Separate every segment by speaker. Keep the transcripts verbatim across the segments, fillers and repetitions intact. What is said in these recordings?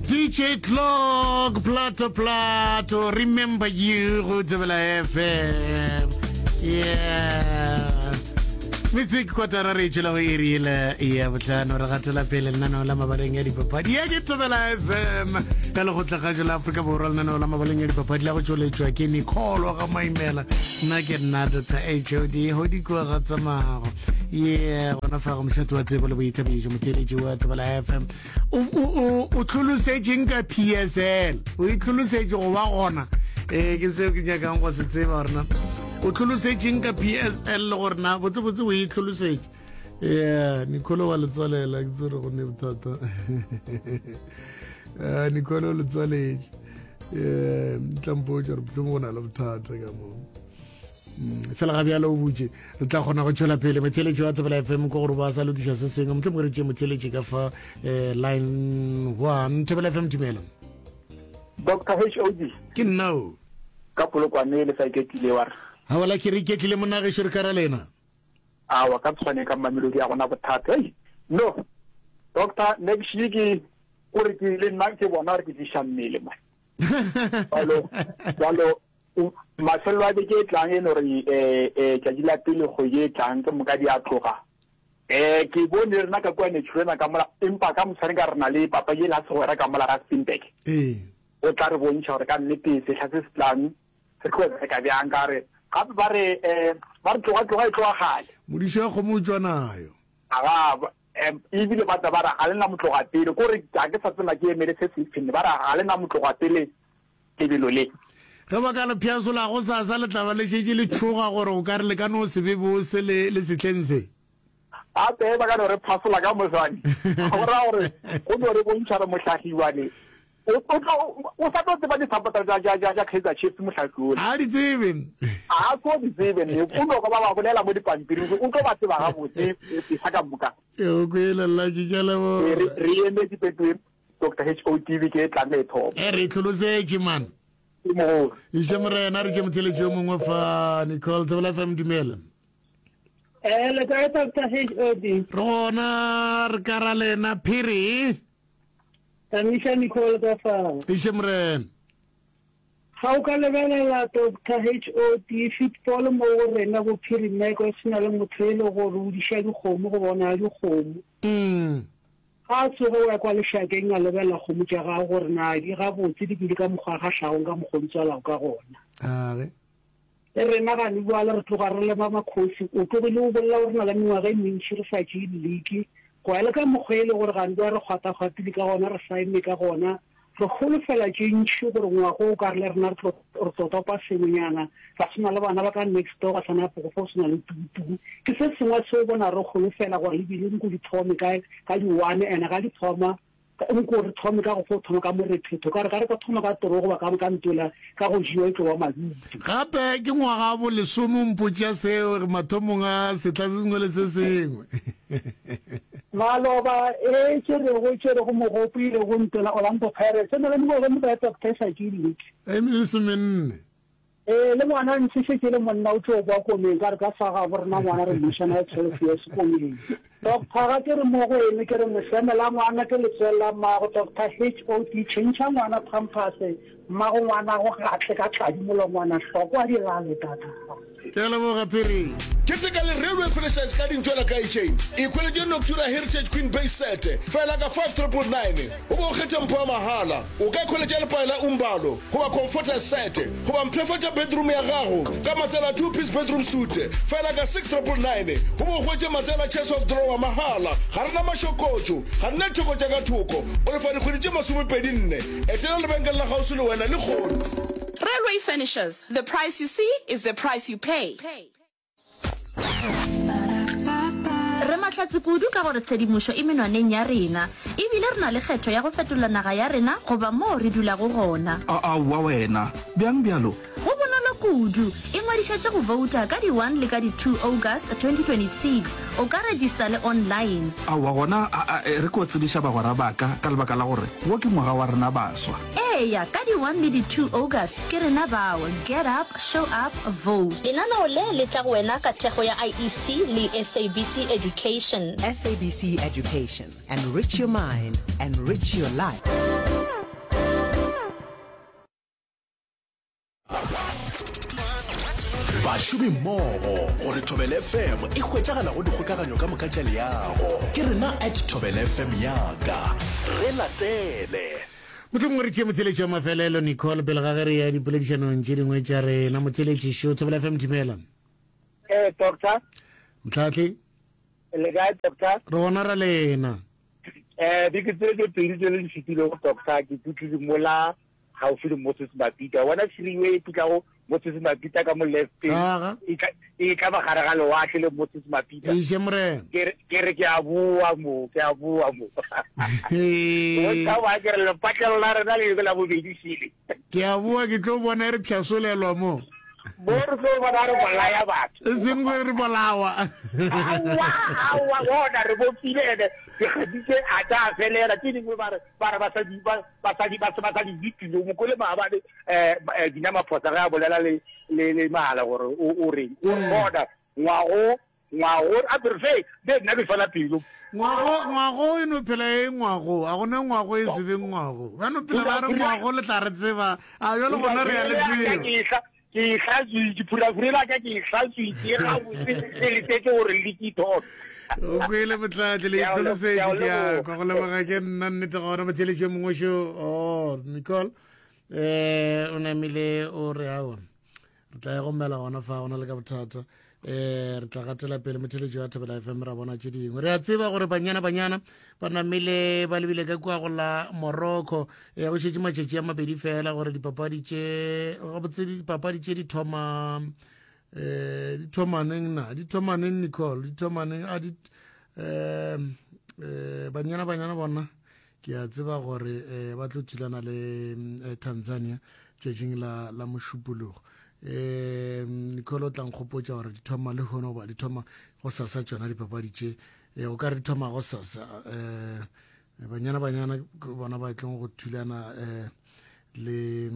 Speaker 1: D J Clock, Plato Plato, Remember You go Thobela F M. Yeah. Metsotso kotara re tšhela go iri yela ya botlhano, re gatela pele lenaneo la Mabaleng ya Dipapadi. Ya ke Thobela F M ka lekgotlakgašo la Afrika Borwa, lenaneo la Mabaleng ya Dipapadi la go tšweletšwa ke Nicole ga Maimela. Nna ke nna Doctor H O D Hodikoa ga tsamago ye gona fa go mošate wa tsebo le boithabišo. Motheeletši wa Thobela F M, o o- o tlholosetšeng ka P S L? O itlholosetše go ba gona? Ee, ke seo ke nyakang go se tseba, gorena o tlholosetšeng ka P S L le gore na botsebotse o itlholosetše. Yeah, Nicole wa letswalela, ke tsere go ne bothata. Ah, Nicole o letswaletše. Um tlampotse gore mohlomong go na le bothata ka moo. Mm, fela ga bjalo o butše, re tla kgona go tšwela pele. Motheeletši wa Thobela F M, ko gore ba sa lokiša se sengwe, mohlomongwe re tšee motheeletši ka fa um line one. Thobela F M, tumelo.
Speaker 2: Doctor H O D.
Speaker 1: Ke nna o.
Speaker 2: Ka Polokwane, le sa iketlile wa re?
Speaker 1: Gaola, ke re iketlile, monagešo, re ka ra lena.
Speaker 2: Awa, ka tshwane, ka Mamelodi a gona bothata. Hey, no doctor, next week kore ke le nna ke bona gore ke tliša mmele man. Jalo jalo o- mafelelo a beke e tlang e no re um tšatši la pele kgwedi e tlang ke moka di a tloga. um ke bone rena ka kua Naturena ka mola, empa ka moswane ka re na le papadi e la segwera ka mola Rustenburg.
Speaker 1: Ee.
Speaker 2: O tla re bontšha gore ka nnete sehla se se tlang re tlo bereka bjang, ka re gape ba re um ba re tloga tloga e tloga gale.
Speaker 1: Modišo ya kgomo o tšwa nayo.
Speaker 2: Aga um ebile ba tla ba re ga le na motloga pele, kore ga ke sa tsena ke emele se sefeng, ba re ga le na motloga pele lebelo le.
Speaker 1: Ge ba ka le pšhasola go sasa, le tla ba le šetše le tšhoga gore o ka re le ka no se be bose le le sehleng se.
Speaker 2: Gape ba ka no re phasola ka moswane, go raya gore go no re bontšha re mohlagiwane o o tlo o sa tlo tseba di-supporter tša tša tša tša Kaizer Chiefs, mohlahli ole.
Speaker 1: A di tsebe.
Speaker 2: A tlo di tsebe ne, o no ba ba bolela mo dipampiring, o tlo ba tseba gabotse pesa ka moka.
Speaker 1: E o kwele lla ke ke
Speaker 2: Re
Speaker 1: leboga.
Speaker 2: Re emetse petwe Doctor H O T V ke e tlang e thoma.
Speaker 1: E re tlholosetše man.
Speaker 2: Ke mogolo.
Speaker 1: Iše morena, re tše motheletši yo mongwe fa. Nicole, Thobela F M, dumela.
Speaker 3: Eh, le kae, Doctor H O D?
Speaker 1: Re gona, re ka ra lena, phiri.
Speaker 3: Tamiša Nicole ka fa.
Speaker 1: Iše morena.
Speaker 3: Ga o ka lebelela, Doctor H O D, football mo go rena bo Phirimeko e sena le motho e le gore o diša dikgomo go bona dikgomo.
Speaker 1: Mm.
Speaker 3: Ga a tsoge o ya kwa lešakeng a lebelela kgomo tša gago gore na di gabotse, di bile ka mokgwa ga hlagong ka mokgwa o di tswalago ka gona.
Speaker 1: Age.
Speaker 3: Le rena gane bjale re tloga re lema makgosi, o tlogile o bolela gore re na le mengwaga e mentši re sa tšee league, go ya le ka mokgwa e le gore gane bjale re kgwata-kgwatile ka gona, re saenne ka gona, re holofela tše ntši gore ngwago o ka re le rena re tlo re tlo topa sengwenyana, ra swana le bana ba ka next door, ba sana go fo swana le tukutuku. Ke se sengwe seo bona re holofela gore ebile nko di thome ka ka di one, and ga di thoma nko re thome ka go fo thoma ka morethetho, ka re ka re ka thoma ka toro goba ka ka ntola ka go jewa e tlo ba madutu.
Speaker 1: Gape ke ngwaga wa bolesome mpotša seo mathomong a setla se sengwe le se sengwe.
Speaker 3: Maloba e tšerego tšerego mogopo ile go ntola Orlando Pirates e na le mengwaga e mekae, Doctor, e sa tšee league?
Speaker 1: E lesomenne.
Speaker 3: Ee, le ngwana ntse šetše le monna o tlo kwa komeng, ka re ka fa gabo rena ngwana re mmušana ya twelve years komeng. Doctor, ga ke re mo go eme, ke re mošeme la ngwana ke letswele la mmago. Doctor H O D, tšhentšha ngwana pampers, mmago ngwana go gatle ka tladi molongwana hloko a di lale tata.
Speaker 1: Ke a leboga, phiri.
Speaker 4: Keteka le Railway Furnishers ka dintšwela ka itšeng. Ikhweletše Noctura Heritage Queen Base Set fela ka five triple nine o be o kgethe mpho ya mahala. O ka ikhweletša lepae la Umbalo goba Comforter Set goba mpshafatša bedroom ya gago ka matsela two piece bedroom suite fela ka six triple nine o be o hwetše matsela chest of drawer mahala. Ga re na mašokotšo, ga re na ditheko tša ka thoko. O lefa dikgwedi tše masomepedi nne. Etela lebenkele la kgauswi le wena lehono.
Speaker 5: Railway Furnishers, the price you see is the price you pay.
Speaker 6: Re mahlatse kudu ka gore tshedimošo e menwaneng ya rena, e bile re na le kgetho ya go fetola naga ya rena goba moo re dulago gona.
Speaker 7: Aowa wena, bjang bjalo?
Speaker 6: Go bonolo kudu. Ingwadišetše go vouta ka di one le ka di two August twenty twenty-six. O ka rejista le online.
Speaker 7: Aowa gona, a, a, re ko tsebiša bagwera ba ka, ka lebaka la gore wo ke ngwaga wa rena baswa.
Speaker 6: Eya, ka di one le di two August ke rena bao. Get up, show up, vote. Lenaneo le le tla go wena ka thekgo ya I E C le S A B C Education.
Speaker 8: S A B C Education. Enrich your mind, enrich your life. Bašomi mmogo gore Thobela F M e hwetšagala go dikgokaganyo ka moka tša leago. Ke rena at Thobela F M yaka. Re latele.
Speaker 1: Mohlomongwe re tšee motheletši wa mafelelo, Nicole, pele ga ge re ya dipoledišanong tše dingwe tša rena. Motheletši šo, Thobela F M, dumela.
Speaker 2: Eh, doctor.
Speaker 1: Motlhatli.
Speaker 2: Le kae, doctor?
Speaker 1: Re gona ra lena.
Speaker 2: Eh, dike tse tse pedi tse le di fetilego, doctor, ke tutlile mola gaufi le Moses Mabhida. Wena freeway e pitlago Moses Mabhida ka mo left,
Speaker 1: Aga.
Speaker 2: e tla e tla ba gare ga lewatle le Moses Mabhida.
Speaker 1: Eiše morena.
Speaker 2: Ke re ke re ke a boa mo, ke a boa mo. Go tla ba ke re lepatlelo la rena le la bobedi šele.
Speaker 1: Ke a boa ke tlo bona e re pšhasolelwa mo.
Speaker 2: Mo re tlo bona re bolaya batho.
Speaker 1: E seng gore re bolawa.
Speaker 2: Aowa, aowa, bona re bopile ene dikgadi tse a tla felela tse dingwe ba re ba re basadi ba basadi ba se ba sa di dipile mo kole maabane eh eh, Dina Maphosa ge a bolela le le le mahala gore o o reng o re bona ngwago ngwago a prefe be nna ke fela pelo.
Speaker 1: Ngwago ngwago e no phela e ngwago, a gona ngwago e se be ngwago. Ba no phela ba re ngwago le tla re tseba, a jalo gona re ya le tseba.
Speaker 2: Ke e ke e hlatswitše phurafurela ka ke e hlatswitše gabotse e letetse gore le ke thome.
Speaker 1: O kwele motlatli le
Speaker 2: Ke a o le-
Speaker 1: itlholosetše
Speaker 2: ke a o
Speaker 1: ke a
Speaker 2: leboga.
Speaker 1: kwa go leboga ke nna nnete gona motheletši yo mongwe šo. Oh, Nicole eh o namile o re aowa re tla ya gomela gona fa gona le ka bothata. Eh re tla gatela pele motheletši wa Thobela F M ra bona tše dingwe. Re a tseba gore Banyana Banyana ba namile ba lebile ka kua go la Morocco. Eh go šetše matšatši a mabedi fela gore dipapadi tše gabotse dipapadi tše di thoma eh di thoma neng na di thoma neng Nicole di thoma neng a di eh eh Banyana Banyana bona ke a tseba gore eh ba tlo thulana le eh, Tanzania tšatšing la la Mošupologo. Eh Nicole o tla nkgopotša gore di thoma le hono goba di thoma go sasa tšona dipapadi tše. Eh o ka re di thoma go sasa eh Banyana Banyana ke bona ba tlong go thulana eh le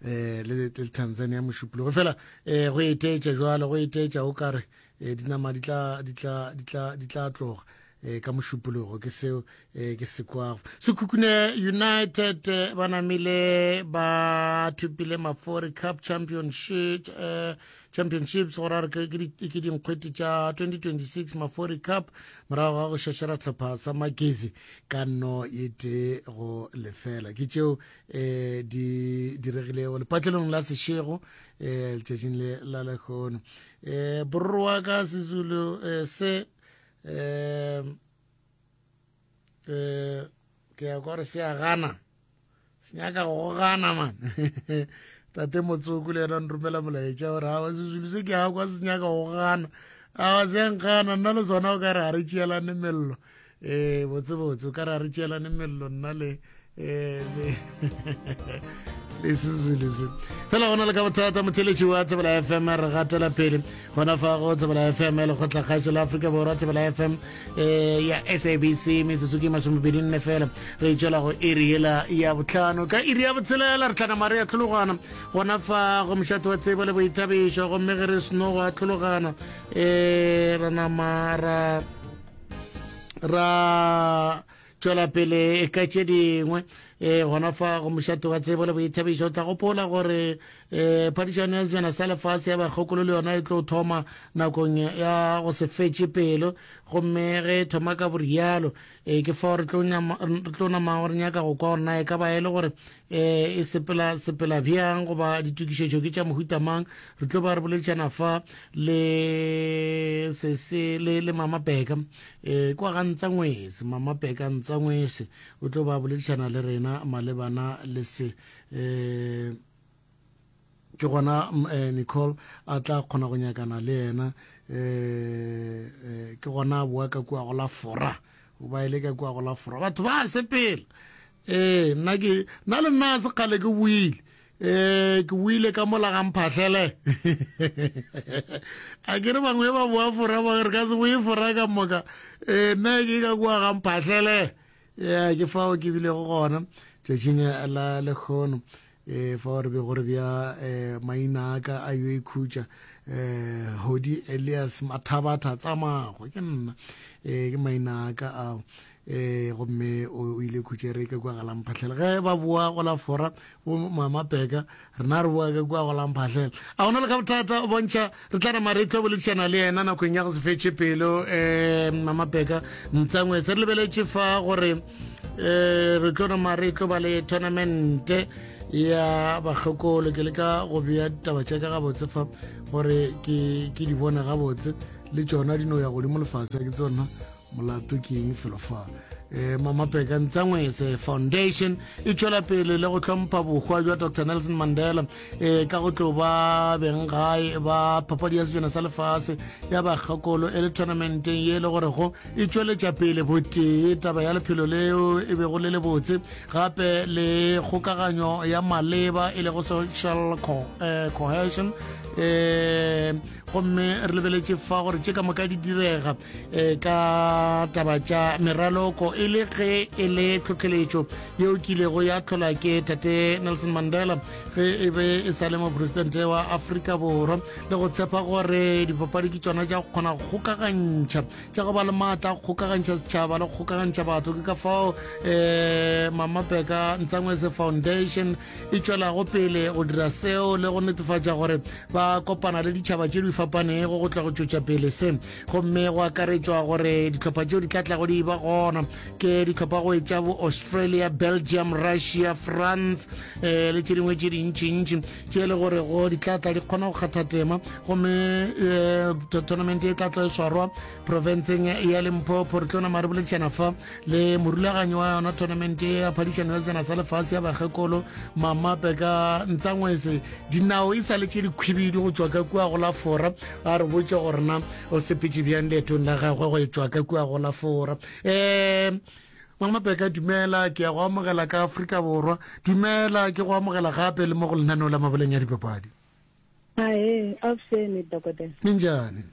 Speaker 1: eh le le Tanzania Mošupologo fela eh go etetša jwalo go etetša o kare eh dinama di tla di tla di tla di tla tloga eh ka Mošupologo ke seo eh ke se kwago. Sekhukhune United eh, ba namile ba thupile Mafori Cup Championship eh Championships gore re ke ke ke dinkgwete tša twenty twenty-six Mafori Cup morago ga go šešera hlopha sa Magezi ka nno ye tee go lefela. Ke tšeo eh di diregilego lepatlelong la Seshego eh letšatšing le la lehono. Eh borro wa ka Sezulu eh, se eh eh ke ya gore se a gana se nyaka go gana man. Tate Motsoko le yena nromela molaetša gore awa Sezulu se ke a kwa se nyaka go gana, awa se nkgana nna le sona o ka re ga re tšeelane mello. Eh botse botse o ka re ga re tšeelane mello nna le eh le le Sezulu se fela gona le ka bothata. Motheletši wa Thobela F M re gatela pele gona fa go Thobela F M lekgotlakgašo la Afrika Borwa Thobela F M eh ya S A B C metsotso ke masomepedi nne fela re tšwela go iri yela ya botlhano ka iri ya botshelela re tlana mare ya tlhologana gona fa go mošate wa tsebo le boithabišo gomme ge re seno go a tlhologana eh ra nama ra ra tšwela pele ka tše dingwe eh gona fa go mošate wa tsebo le boithabišo. O tla gopola gore eh phadišano ya sejana sa lefase ya bakgokolo le yona e tlo thoma nakong ya go se fetše pelo gomme ge e thoma ka borialo eh ke fao re tlo nyama re tlo nama gore nyaka go kwa gore na e ka ba e le gore eh e sepela sepela bjang goba ditokišetšo ke tša mohuta mang. Re tlo ba re boledišana fa le sese le le Mama Beka eh kwa ga Ntsangwese Mama Beka Ntsangwese o tlo ba boledišana le rena malebana le se eh ke gona eh, Nicole a tla kgona go nyakana le yena eh, eh ke gona boa ka kua go la Fora o ba ile ka kua go la Fora batho ba sepela eh nna ke nna le nna se kgale ke buile eh ke buile ka mola ga mphahlele a ke re bangwe ba boa Fora ba re ka se boe Fora ka moka eh nna ke ka kua ga mphahlele ya ke fao ke bilego gona tšatšing la lekgono eh fa re be gore bja eh maina a ka a yo ikhutša eh Hodi Elias Mathabatha tsamago ke nna eh ke maina a ka ao um gomme o ile khutšere ka kua galamphatlhela ge ba boa go la fora bo mama peka rena re boa ka kua go lamphatlhela a gona le ka bothata o bontšha re tla nama re tlo boledišana le yena nakong ya go se fetše pelo um mama peka ntsangwetse re lebeletše fa gore um re tlo nama re tlo ba le tournamente ya bakgekolo ke leka go bea ditaba tša ka gabotse fa gore ke ke di bone gabotse le tšona di no ya godimo lefase ke tsona molato ke eng felo fa um mama peka ntsangwese foundation e tšwela pele le go hlompha bohwa jwa dr nelson mandela um ka go tlo ba beng gae ba papadi ya sejana sa lefase ya bakgekolo e le tournamenteng ye e le gorego e tšweletša pele botee taba ya lephelo leo e bego le lebotse gape le kgokaganyo ya maleba e lego social co eh, cohesion um gomme re lebeletše fa gore tše ka moka di direga um ka taba tša meraloko e le ge e le tlhotlheletšo yeo kilego ya tlhola ke tate nelson mandela ge e be e sa le mopresidente wa afrika borwa le go tshepa gore dipapadi ke tšona tša go kgona go kgokagantšha tša go ba le maatla a go kgokagantšha setšhaba le go kgokagantšha batho ke ka fao um mama peka ntsangwese foundation e tšwelago pele go dira seo le go netefatša gore ba kopana le ditšhaba tše di fapanego go tla go tšwetša pele se gomme go akaretšwa gore dihlopha tšeo di tla tlago di ba gona ke dihlopha go etša bo australia belgium russia france um le tše dingwe tše dintšintši tše e le gore go di tla tla di kgona go kgatha tema gomme um tournament e tla tla e swarwa profenseng ya limpopo re tlo nama re boledišana fa le morulaganyi wa yona tournament ya phadišano ya sejana sa lefase ya bakgekolo mama peka ntsangwese dinao e sa le tše dikhwibidu go tšwa ka kua go la fora a re botše gore na o sepetše bjang leetong la gagwe go tšwa ka kua go la fora um mama peka dumela ke ya go amogela ka afrika borwa dumela ke go amogela gape le mo go lenaneo la maboleng ya dipapadi
Speaker 9: ae avuxeni dokodela
Speaker 1: minjhani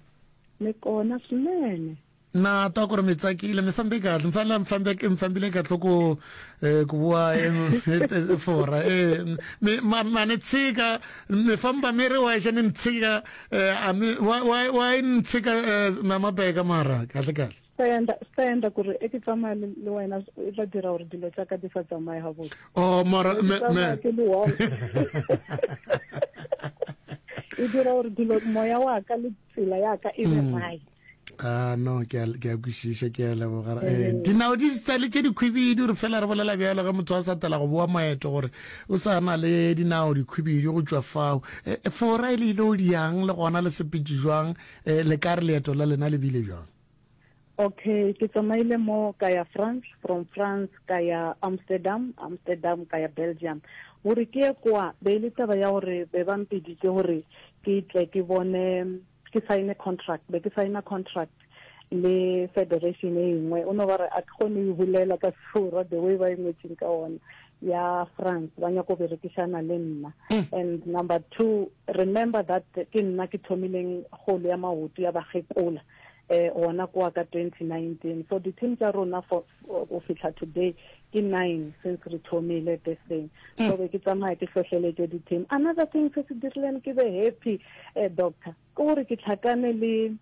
Speaker 9: ni kona swinene
Speaker 1: na twa ku ri mi tsakile mi fambe kahle mi fanele mi fambe mi fambile kahle ku eh, ku vuwa e- fora eh mi ma ma ni tshika mi famba mi ri wexe ni ni tshika eh, a mi wa wa wa yi ni tshika eh, na mabeka mara kahle kahle
Speaker 9: swi ta endla swi ta endla ku ri e ke tsamaya le le wena e tla dira gore dilo tša ka di sa tsamaye gabotse
Speaker 1: oh mara
Speaker 9: Ke
Speaker 1: me me
Speaker 9: tsamaya ke le one e dira gore dilo moya wa ka le tsela ya ka e be
Speaker 1: Mm.
Speaker 9: right
Speaker 1: a no ke a ke a kwešiša ke a leboga eh dinao di sa le tše dikhwibidu re fela re bolela bjalo ge motho a sa tela go boa maeto gore o sa na le dinao dikhwibidu go tšwa fao Eh, fora e le ile o diang le gona le sepetše jwang Eh, le ka re leeto la lena le bile bjang
Speaker 9: okay ke tsamaile mo ka ya france from france ka ya amsterdam amsterdam ka ya belgium gore ke ye kwa be e le taba ya gore be ba mpeditše gore ke tle ke bone ke sign contract be ke signa contract le federation e nngwe o no ba re a ke kgone e bolela ka sefora the way ba e ngwetseng ka ona ya france ba nyako berekišana le nna and number two remember that ke nna ke thomileng kgolo ya maoto ya bakgekola eh gona kwa ka twenty nineteen so di-team tša rona for go fihla today ke nine since re thomile this thing so be ke tsamaya ke hlohleletše di-team another thing se se dirileng ke be happy eh, doctor ke gore ke tlhakane le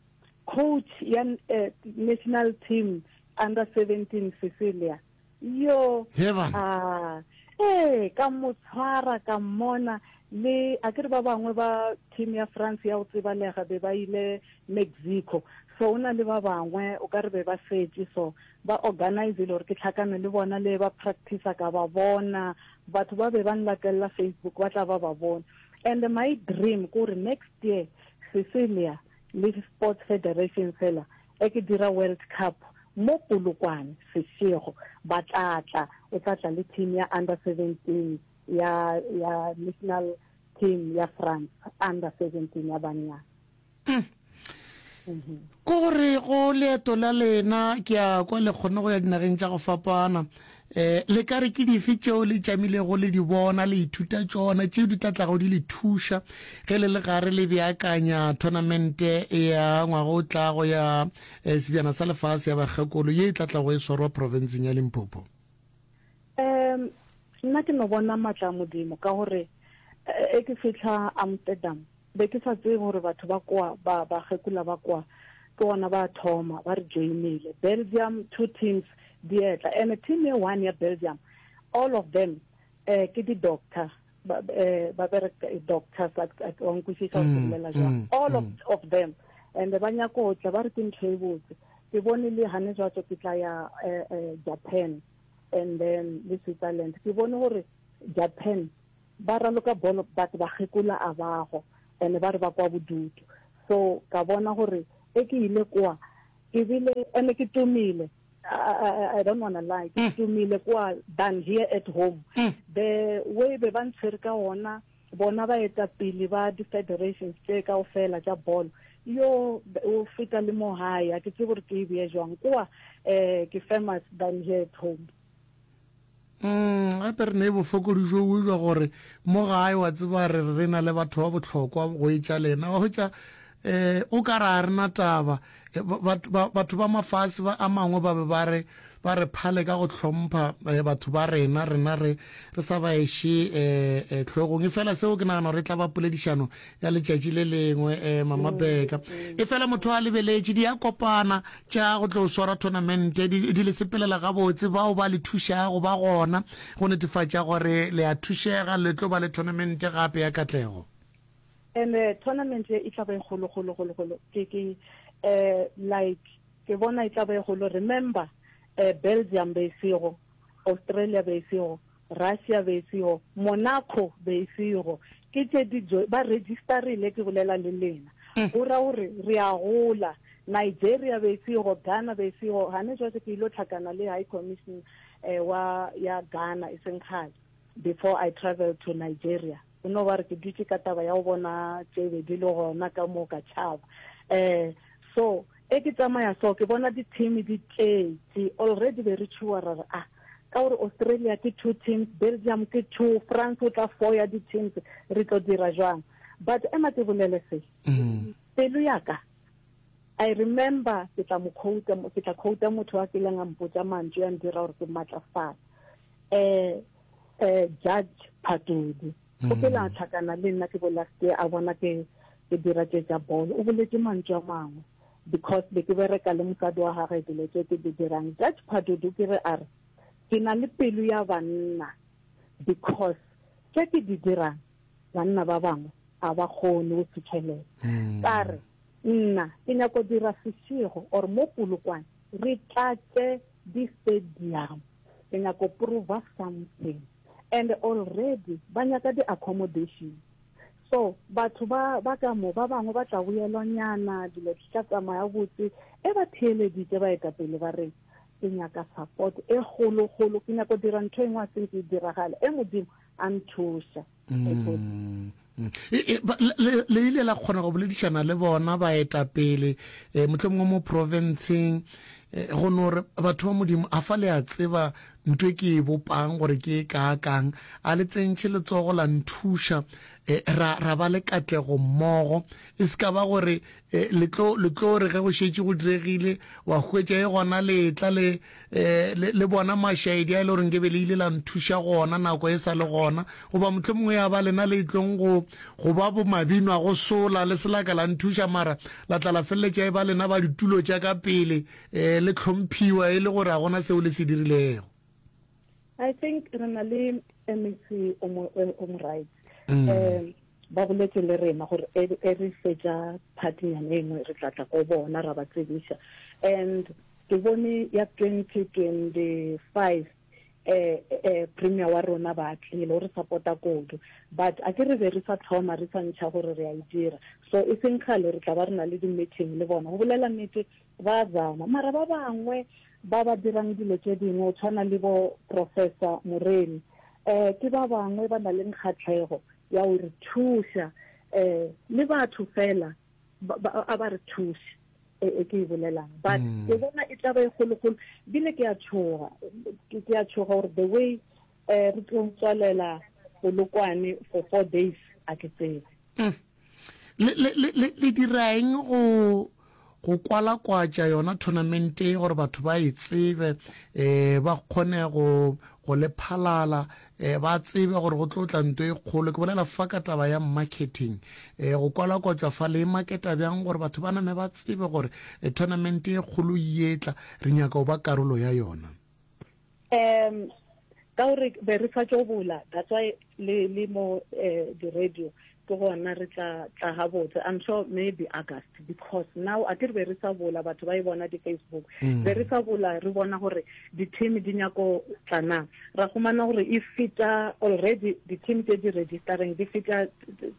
Speaker 9: coach ya eh, national team under seventeen Cecilia yo
Speaker 1: He bana.
Speaker 9: ah eh ka mo tshwara ka mmona le a ke re ba bangwe ba team ya France ya go tsebalega be ba ile Mexico so o na le ba bangwe o ka re be ba setše so ba organizile gore ke tlhakane le bona le ba practice ka ba bona batho ba be ba nlatella Facebook ba tla ba ba bona and my dream ke gore next year Cecilia le Sports Federation fela e ke dira World Cup mo Polokwane sešego ba tla tla o tla tla le team ya under seventeen ya ya national team ya France under seventeen ya banyana
Speaker 1: ke gore go leeto la lena ke a kwa le kgone go ya dinageng tša go fapana um le ka re ke dife tšeo le tšamilego le di bona le ithuta tšona tšeo di tla tlago di le thuša ge le le gare le beakanya tournamente ya ngwaga o tlago ya eh, sebjana sa lefase ya bakgekolo ye e tla tlago e swarwa provinceng ya limpopo
Speaker 9: um nna ke no bona maatla a modimo ka gore eh, e ke fitlha amsterdam be ke sa tsebe gore batho ba kwa ba bakgekola ba kwa ke gona ba thoma ba re joinile belgium two teams di etla. And team e one ya Belgium, all of them eh ke di doctor, ba eh, ba bereka doctors, wa nkwešiša gore ke bolela jwang, all of, of them, and ba nyako tla ba re ke ntho e botse. Ke bone le hane jwatso ke tla ya eh, eh, Japan and then le Switzerland. Ke bone gore Japan ba raloka bolo, but ba kgekola a bago and ba re ba kwa bodutu. So ka bona gore e ke ile kwa ke bile ene ke tumile. I, I, I don't wanna lie, ke tumile kwa than here at home. The way be ba ntshwere ka ona bona baetapele ba di-federations tše kaofela tša bolo, yo o feta le mo gae, a ke tsebe gore ke e beye jwang kwa, um ke famous than here at home.
Speaker 1: Mm, gape re ne bofokodi jo bo jwa gore mo gae wa tseba re re na le batho ba bohlokwa go etša lena, wa hwetša um o ka re a rena taba. Eh, ba- batho ba mafase ba a mangwe ba be ba re ba re phale ka go hlompha eh, batho ba rena, rena re re sa ba eše eh, eh, tlhogong. E fela seo ke nagana gore e tla ba poledišano ya letšatši le lengwe, eh, Mama Beka. E fela motho a lebeletše di a kopana tša go tlo swara tournament, di, di le sepelela gabotse, bao ba le thušago ba gona go netefatša gore le a thušega, le tlo ba le tournament gape ya katlego.
Speaker 9: And uh, tournament e tla ba e kgolo kgolo kgolo kgolo. Ke ke eh like ke bona e tla ba e kgolo. Remember, eh Belgium be sego, Australia be sego, Russia be sego, Monaco be sego, ke tše di ba registerile, ke bolela le lena go ra gore re a gola. Nigeria be sego, Ghana be sego. Gane jwale ke ilo tlhakana le High Commission eh, wa ya Ghana e seng kgale before I travel to Nigeria. O no ba re ke dutše ka taba ya go bona tše be di le gona ka mo ka tšhaba. um so e ke tsamaya, so ke bona di-team di tletše already. Be re tšhuwa ra re ah, ka gore Australia ke two teams, Belgium ke two, France o tla four ya di-teams, re tlo dira jwang? But ema ke bolele se, pelo yaka, I remember ke tla mo quote, ke tla quote motho wa kileng a mpotsa mantšu ya ndira gore ke matlafala, eh eh Judge Phatudi o ke la tlhakana le nna ke bo last year, a bona ke ke dira tše tša bolo. O boletse mantšu a mangwe because be ke bereka le mosadi wa gagwe, dilo tše ke di dirang. Judge Phadudu ke re a re ke na le pelo ya banna because tše ke di dirang banna ba bangwe a ba kgone go fitlhelela. Ka re nna ke nyako dira sešego or mo Polokwane re tlatše di-stadium, ke nyako prova something, and already ba nyaka di-accommodation. So batho ba ba ka mo ba bangwe ba tla boelwanyana, dilo di tla tsamaya botse. E ba theeleditše baetapele ba reng, ke nyaka support e kgolokgolo, ke nyako dira ntho e nngwe a seng ke e diragale, e Modimo a nthuša.
Speaker 1: Mm. E, e, le le ile la kgona go boledišana le bona baetapele, um mohlomongwe mo provinceng, go no re batho ba Modimo a fa le a tseba ntho e ke e bopang gore ke e kaakang, a le tsentšhe letsogo la nthuša, ra ra ba le katlego mmogo? E se ka ba gore le tlo le tlo re ge go šetše go diregile wa hwetša e gona letla le le le bona mašaedi a e le gore nke be le ile la nthuša gona nako e sa le gona, goba mohlomongwe ya ba lena le tlong go go ba bo mabino a go sola le se la ka la nthuša, mara la tla la feleletša e ba lena ba ditulo tša ka pele, um le hlomphiwa e le gore a gona seo le se dirilego?
Speaker 9: I think re na le M E C o mo o mo right. Um ba boletse le rena gore e e re fetša partynyana e nngwe re tla tla ko bona ra ba tsebiša. And ke bone ya twenty twenty-five eh eh premier wa rona ba tlile o re supporta kudu, but a ke re be re sa thoma re sa ntšha gore re a e dira, so e seng kgale re tla ba re na le di-meeting le bona. Go bolela nnete, ba zama, mara ba bangwe ba ba dirang dilo tše dingwe o tshwana le bo Professor Moreni, eh ke ba bangwe ba na le kgatlhego ya go re thuša, eh le batho fela a ba re thuše e ke e bolelang. But ke bona e tla ba e kgolokgolo, bile ke a tshoga, ke a tshoga gore the way eh re tlo tswalela Polokwane for four days, a ke tsebe.
Speaker 1: Le le le le dira eng go go kwalakwatša yona tournament e gore batho ba e tsebe, um ba kgone go go le phalala, um ba tsebe gore go tlo tla nto e kgolo? Ke bolela fa ka taba ya marketing, um go kwalakwatšwa fa le e marketa bjang gore batho ba name ba tsebe gore tournament e kgolo e etla, re nyaka go ba karolo ya yona?
Speaker 9: Um ka gore be re sa tšo bula, that's why le le mo eh, di-radio ke gona re tla tla gabotse. I'm sure maybe August, because now a ke re be re sa bula, batho ba e bona di-Facebook.
Speaker 1: Mm.
Speaker 9: Be re sa bula, re bona gore di-team di nyako tla na, ra humana gore e feta already di-team tse di registereng di feta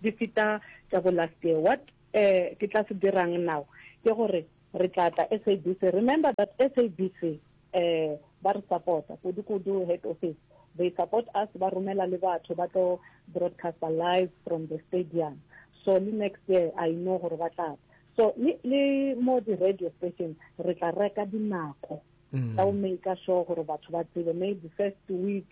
Speaker 9: di feta tša bo last year. What eh ke tla se dirang now ke gore re tla tla S A B C. Remember that S A B C eh ba re supporta kudu kudu, head office, they support us, ba romela le batho ba tlo broadcaster live from the stadium. So le next year I know gore ba tla. So le le mo di-radio station re tla reka dinako
Speaker 1: Mm.
Speaker 9: tsa go make sure gore batho ba tsebe, maybe first week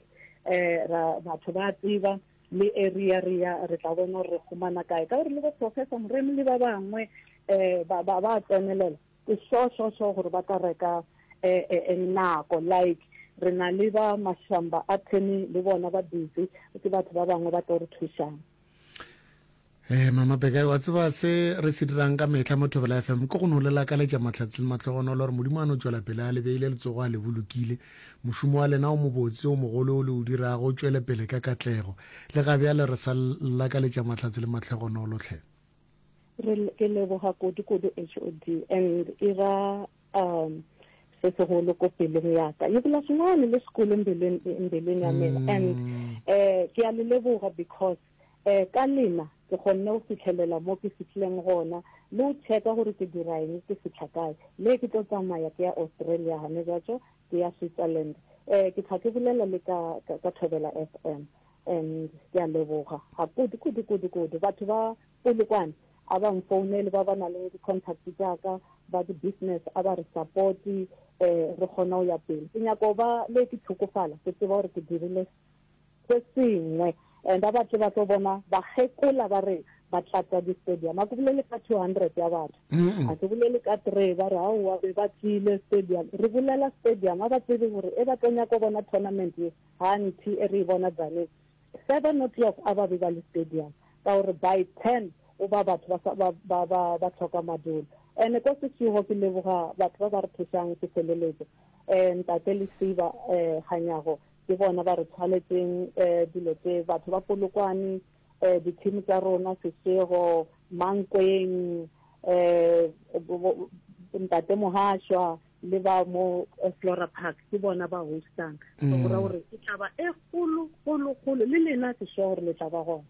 Speaker 9: eh ra batho ba tseba le area re ya, re tla bona gore re humana kae, ka gore le bo Professor Moremi le ba bangwe eh ba ba ba tsenelela. Ke sure sure sure gore ba tla reka eh, eh, eh, nako, like re na le ba Mashamba attorney le bona ba busy, ke batho ba bangwe ba tlo re thušang.
Speaker 1: Eh mama Beka, wa tseba se re se dirang ka metlha mo Thobela F M ke go no le lakaletša mahlatse le mahlogonolo, gore Modimo a no tšwela pele a le beile letsogo, a le bolokile. Mošomo wa lena o mobotse o mogolo o le o dirago o tšwele pele ka katlego. Le ga bjale re sa lakaletša mahlatse le mahlogonolo tlhe.
Speaker 9: Re ke leboga kudu kudu H O D, and e ra um se segolo ko pelong ya ka, e bola sengwane le sekolo mbeleng mbeleng ya mina. And eh ke a le leboga because eh ka lena ke kgonne go fitlhelela mo ke fitlhileng gona, le o checka gore ke dira eng, ke fitlha kae. Le ke tlo tsamaya ke ya Australia gane jatso, ke ya Switzerland, eh ke tla ke bolela le ka ka, ka Thobela F M, and ke a leboga ga kudu kudu kudu kudu. Batho ba Polokwane a ba mfounele, ba ba nang le di-contact jaaka ba di-business, a ba re support eh re kgona go ya pele. Ke nyako ba le ke tlhokofala ke tseba gore ke dirile se sengwe, and a batle ba tlo bona bakgekola ba re ba tlatsa di-stadium. A ke bolele ka two hundred ya batho, a ke bolele ka three ba re aowa be ba tlile stadium. Re bolela stadium, a ba tsebe gore e ba tlo nyako bona tournament ye ga nthi e re e bona Tzaneen seven o'clock, a ba be ba le stadium, ka gore by ten o ba batho ba sa- ba ba ba ba tlhoka madulo. And ko Seshego ke leboga batho ba ba re thušang, ke feleletse um ntate Lesiba um Kganyago, ke bona ba re tshwanetseng um dilo tse. Batho ba Polokwane, um di-team tsa rona, Seshego, Mankweng, um ntate Mohashwa le ba mo eh, Flora Park, ke bona ba hostang. So go ra gore e tla ba e kgolo kgolo kgolo, le lena ke sure gore le tla ba gona.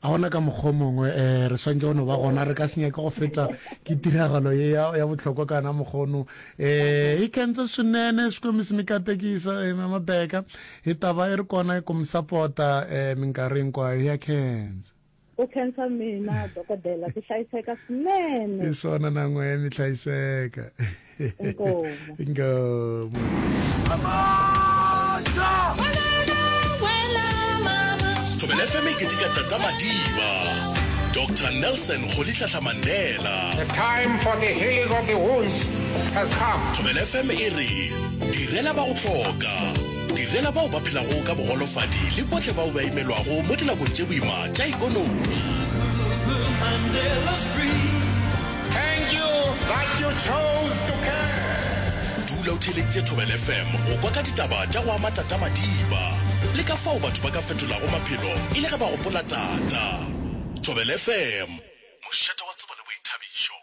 Speaker 1: A gona ka mokgwa o mongwe um re swantse go no ba gona, re ka se nyake go feta ke tiragalo ye ya ya bohlokwa kana mokgono. um e kentse swinene Xikwembu xi mi katekisa, eh, mama Beka, hi ta va i ri kona ku mi sapota um minkarhi hinkwayo. Ya khensa.
Speaker 9: Ku khensa mina dokodela, ku hlayiseka swinene.
Speaker 1: Hi swona, na n'we mi hlayiseka.
Speaker 9: Inkomu.
Speaker 1: Inkomu.
Speaker 8: Thobela F M e keteka Tata Madiba, Doctor Nelson Rolihlahla Mandela.
Speaker 10: The time for the healing of the wounds has come.
Speaker 8: Thobela F M e re direla ba go hloka, direla bao ba phelago ka bogolofadi le bohle bao ba imelwago mo dinakong tše boima tša ikonomi.
Speaker 10: Thank you that you chose to care.
Speaker 8: Dula o theeleditše Thobela F M go kwa ka ditaba tša go ama Tata Madiba le ka fao batho ba ka fetolago maphelo e le ge ba gopola tata. Thobela F M, mošate wa tsebo le boithabišo.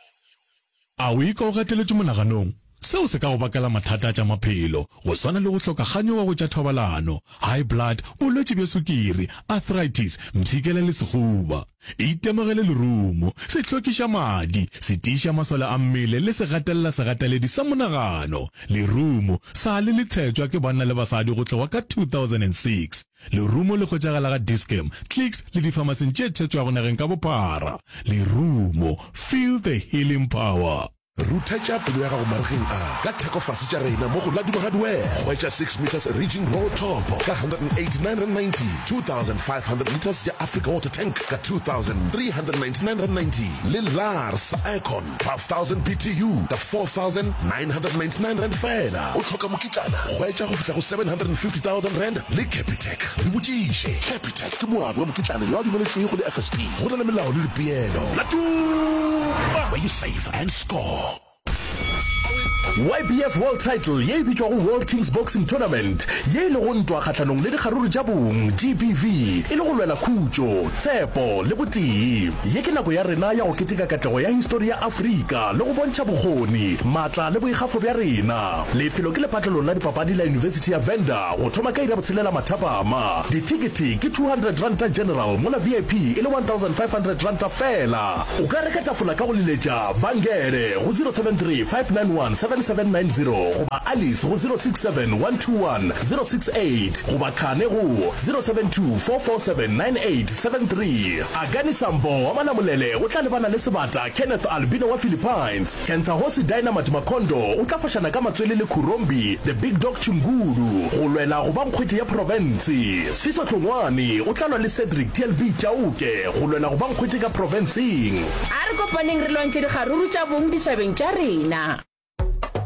Speaker 11: A o ikwa o gateletšwe monaganong? Seo se ka go bakela mathata a tša maphelo, go swana le go hloka kganyogo go tša thobalano, high blood, bolwetši bja sukiri, arthritis, mpshikela le sehuba. Itemogele lerumo, se hlwekiša madi, se tiiša masole a mmele le se gatelela segateledi sa monagano. Lerumo sa le le tshetšwa ke banna le basadi go tloga ka two thousand and six. Lerumo le hwetšagala ga Dis-Chem, Clicks le difamaseng tše tshetšwago nageng ka bophara. Lerumo, feel the healing power.
Speaker 4: Ruthetša pelo ya gago maregeng a ka thekofase tša rena mo go Laduma Hardware. Hwetša six meters Riging Roll Top ka one hundred eighty-nine rand ninety, two thousand five hundred liters ya Africa Water Tank ka two thousand three hundred ninety-nine rand ninety, le Lars Aircon twelve thousand B T U ka four thousand nine hundred ninety-nine rand fela. O hloka mokitlana? Hwetša go fihla go seven hundred fifty thousand rand le Capitec. Re botšiše. Capitec ke moabi wa mokitlana yo a dumeletšwego le F S P. Go na le melao le dipeelo. Laduma, where you save and score.
Speaker 8: YBF World Title ye e bitšwago World Kings Boxing Tournament, ye e lego ntwa kgahlanong le dikgaruru tša bong, GBV, e le go lwela khutšo, tshepo le botee. Ye ke nako ya rena ya go keteka katlego ya histori ya Afrika le go bontšha bokgoni, maatla le boikgafo bja rena. Lefelo ke lepatlelong la dipapadi la Yunibesithi ya Venda go thoma ka iri ya botshelela mathapama. Dithekethe ke two hundred ranta general mola VIP e le one thousand five hundred ranta feela. O ka reka tafola ka go leletša Vangele go zero seven three five nine one seven seven nine zero goba Alice go zero six seven one two one zero six eight goba Khane go zero seven two four four seven nine eight seven three. Akani Sambo wa Malamulele o tla lebana le sebata Kenneth Albino wa Philippines. Kentsahosi Dynamite Makondo o tla fošana ka matswele le Khurombi The Big Dog Chingulu go lwela go ba nkgwete ya profense. Sfiso Hlongwane o tla lwa le Cedric TLB Chauke go lwela go ba nkgwete ka profenseng.
Speaker 12: A re kopaneng re lwantšhe dikgaruru tša bong ditšhabeng tša rena.